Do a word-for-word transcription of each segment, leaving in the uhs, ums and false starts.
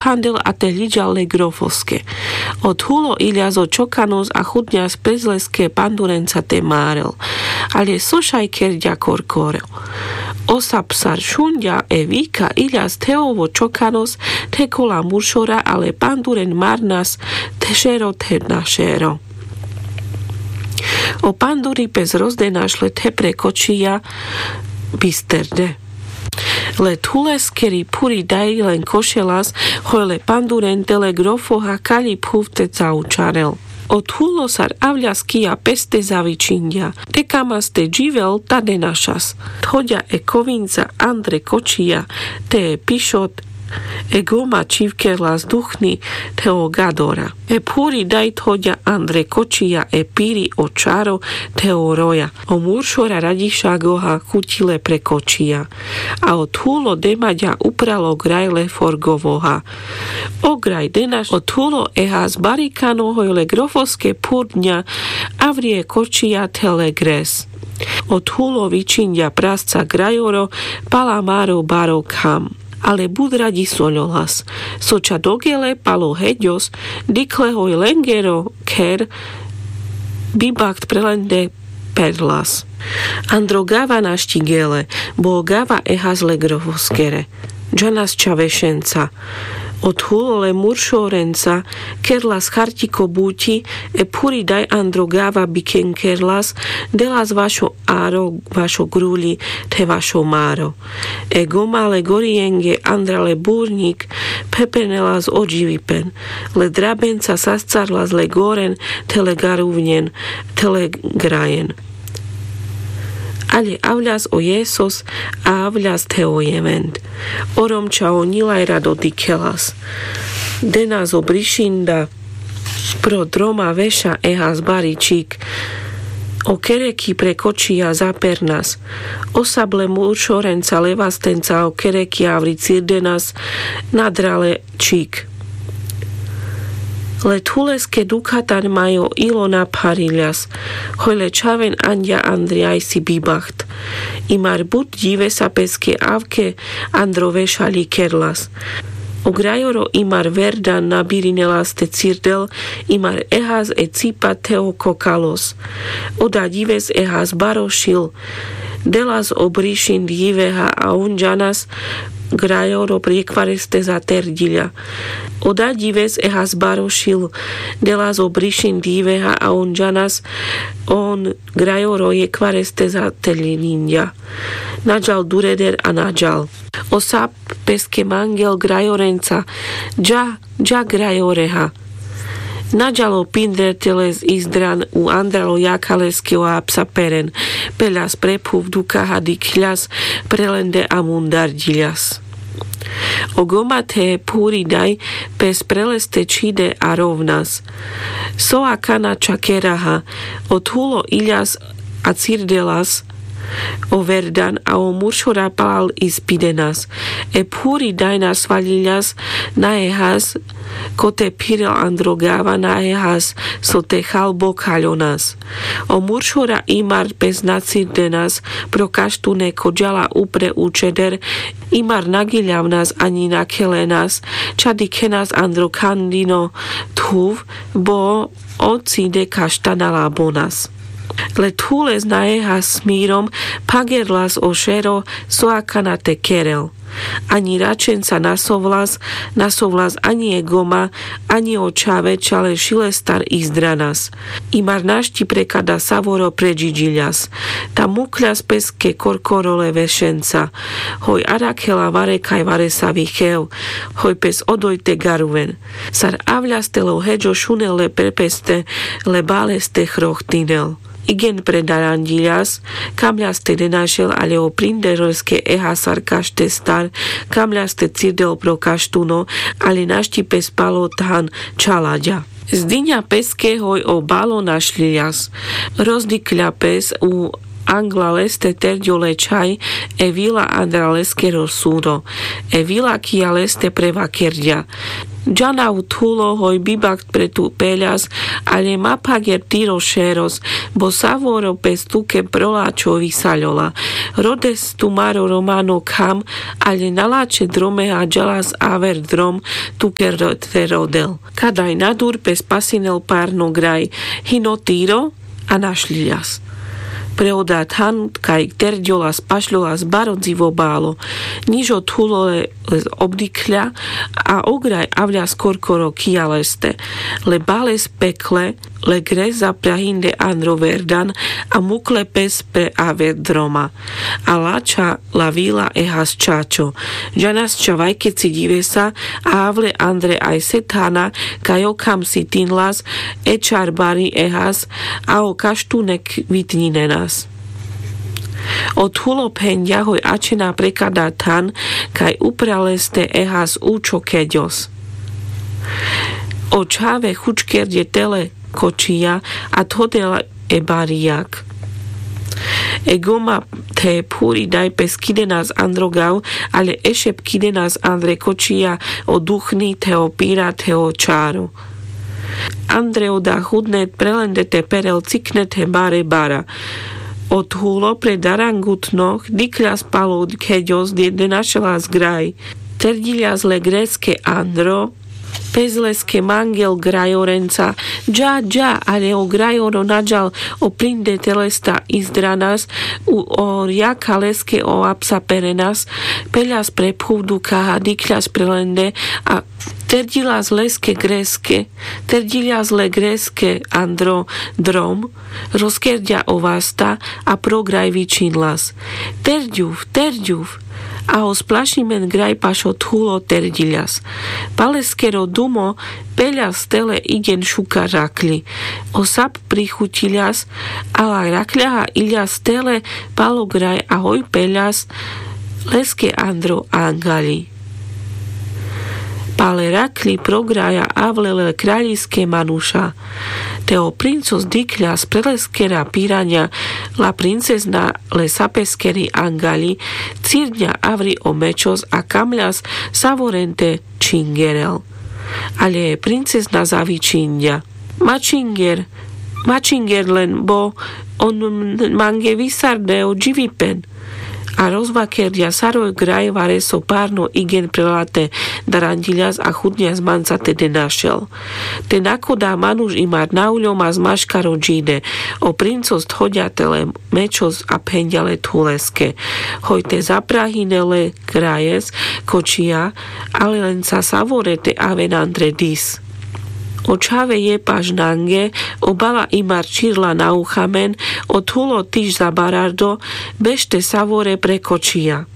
handel a te ľiďal le grofoske. Othulo iľas o čokanos a chudňas pes leske pandurenca te márel. Ale so šaj kerďa korkoro? Osa psar šunďa e vika iľas the ovo čokanos the kola muršora, ale panduren marnas the šero the na šero. O panduri pes rozdenaš le the prekočija bisterde. Le thuleskeri phuri daj len košelas, hoj le panduren te le grofoha kaľi phuv te caučarel. Othulo sar avľas kija peste zavičinďa. Te kamas te dživel ta denašas. Thoďa e kovinca andre kočija te e pišot, e goma čhivkerlas duchni the o gadora. E phuri daj thoďa andre kočija e piri o čaro the o roja. O muršora raďiša goha chuti le prekočija. A othulo demaďa upralo graj le forgovoha. O graj denaš othulo ehas barikano hoj le grofoske phurňa avri e kočija the le gres. Othulo vičinďa prasca grajoro pala maro baro kham. Ale but raďisoľolas. So ča dogele palo heďos dikhle hoj lengero kher bibacht pre lende perlas. Andro gava našti gele, bo o gava ehas le grofoskere. Džanas ča vešenca. Othulo le muršorenca kerlas chartiko buťi, e phuri daj andro gava bikenkerlas, delas vašo aro vašo gruľi the vašo maro. E goma le gorijenge andra le burňik phepenelas o dživipen. Le drabenca sascarlas le goren the le garuvňen the le grajen. Ale avľas o jesos a avľas the o jevend. Orom ča o ňilaj rado dikhelas. Denas o brišinda pro droma veša ehas bari čhik. O kereki prekočija zapernas. Osable muršorenca levastenca o kereki avri cirdenas nadra le čhik. Le thuleske dukhatan majo ilo naphariľas. Hoj le čhaven anďa andri ajsi bibacht. Imar but ďivesa peske avke andro veša ľikerlas. O grajoro imar verdan nabirinelas te cirdel, imar ehas e cipa the o kokalos. Oda ďives ehas baro šil. Delas o brišin ďiveha a on džanas grajoro jekvareste zaterďiľa. Oda ďives ehas baro šil. Delas o brišin ďiveha a on džanas on grajoro jekvareste zaterďiňa. Naďal dureder a naďal. Osa peske mangel grajorenca. Dža, dža grajoreha. Naďal o pinder te les izdran u andral o jakha leske o apsa peren. Peľas pre phuv dukaha dikľas pre lende a mundarďiľas. O goma the phuri daj pes pre leste čhide a rovnas. So akana ča keraha. Othulo iľas a cirdelas o verdan a o muršora palal ispidenas. E phuri daj nasvaľiľas na ehas ko te phirel andro gava na ehas so te chal bokhaľonas. O muršora imar pes nacirdenas pro kaštune ko ďala upre učeder. Imar nagiľavnas aňi nakhelenas ča dikhenas andro khandino thuv bo o cide kaštana labonas. Le thules na ehas smirom phagerlas o šero so akana te kerel. Aňi račenca nasovlas, nasovlas aňi e goma aňi o čhave ča le šilestar izdranas. Imar našti prekada savoro predžiďiľas. Ta mukhľas peske korkoro le vešenca. Hoj arakhela varekaj varesavi chev. Hoj pes odoj te garuven. Sar avľas te le o heďo šunel le pre peste le baleste chrochtinel. Igen pre daranďiľas kamľas te denašel ale o prinderoske eha sar kaštestar kamľas te cirdel pro kaštuno ale našti pes palo than čhalaďa. Zdiňa peske hoj o balo našľiľas. Rozdikľa pes u angla leste terďo le čhaj e vila andra leskero súdo. E vila kija leste prevakerďa: džanav thulo hoj bibakt pre tu peľas, ale ma phager tiro šeros, bo savoro pes tuke pro lačho visaľola. Rodes tumaro romano kham, ale na lačhe drome haďalas aver drom tuke te rodel. Kadaj nadur pes pasinel parno graj, hino tiro a našľiľas. Pre oda than kaj terďolas pašľolas baro dzivo balo. Nižo thulo le obdikhľa a ograj avľas korkoro kija leste. Le bales pekle le gres zaprahinde andro verdan a mukle pes pre aver droma. A lačha la vila ehas čačo. Džanas čhavajkeci ďivesa a avle andre aj sethana kaj okham sitinlas e čar bari ehas a o kaštunek vitňinenas. O thulo phenďa hoj ačhena pre kada than kaj upral leste ehas učho keďos. O čhave chučkerďe tele kočija a thodela e barijak. E goma the phuri daj pes kidenas andro gav, ale ešep kidenas andre kočija o duchni the o pira the o čaro. Andre oda hudne pre lende te perel cikne the bare bara. O thulo pre darangutno dikhľas palo keďos de našelas graj. Terďiľas le greske andro pes leske mangel grajorenca. Dža dža, ale o grajoro naďal o prinde te lesta izdranas. O rjaka leske o apsa perenas. Peľas pre phuv dukaha dikhľas pre lende a terďiľas leske greske. Terďiľas le greske andro drom. Rozkerďa o vasta a pro graj vičinľas: terďuv, terďuv. A o splašimen graj pašo thulo terďiľas. Paleskero dumo peľas tele iďen šukar rakľi. O sap prichuťiľas a la rakľaha iľas tele palo graj a hoj peľas leske andro angaľi. Pale rakľi pro graja avle le kraľiske manuša. Te o princos dikhľas pre leskera piraňa la princezna le sapeskeri angaľi cirňa avri o mečos a kamľas savoren te čhingerel. Ale princezna zavičinďa: ma čhinger, ma čhinger len bo on mange visarde o dživipen. A rozvakerďa saro graj vareso parno iďen pre late daranďiľas a chudňas manca te de našel. Te nakoda manuš imar na uľom a zmaškaro džide. O princos thodďa tele mečos a phenďa le thuleske: hoj te zaprahine le grajes kočija, ale lenca savore te aven andre dis. O čhave jepaš nange, o bala imar čirla na uchamen, o thulo tiš zabarardo, bešte savore pre kočija.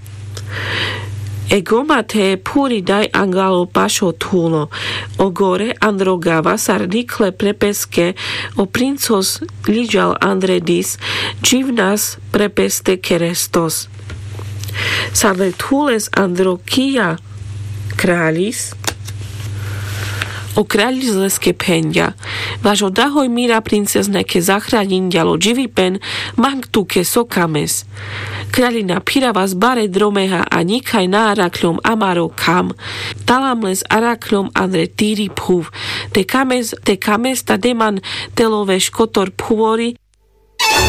E goma the phuri daj angalo pašo thulo. O gore andro gava sar dikhle pre peske, o princos ľiďal andre dis, dživnas pre peste kerestos. Sar le thules andro kija kraľis, o kraľis leske phenďa: vaš oda hoj mira princezne ke zachraňinďal o dživipen, mang tuke so kames. Kraľina, phiravas bare dromeha a ňikhaj na arakľom amaro kham. Talam les arakľom andre tiri phuv. Te kames, te kames ta deman telo veš kotor phuvori,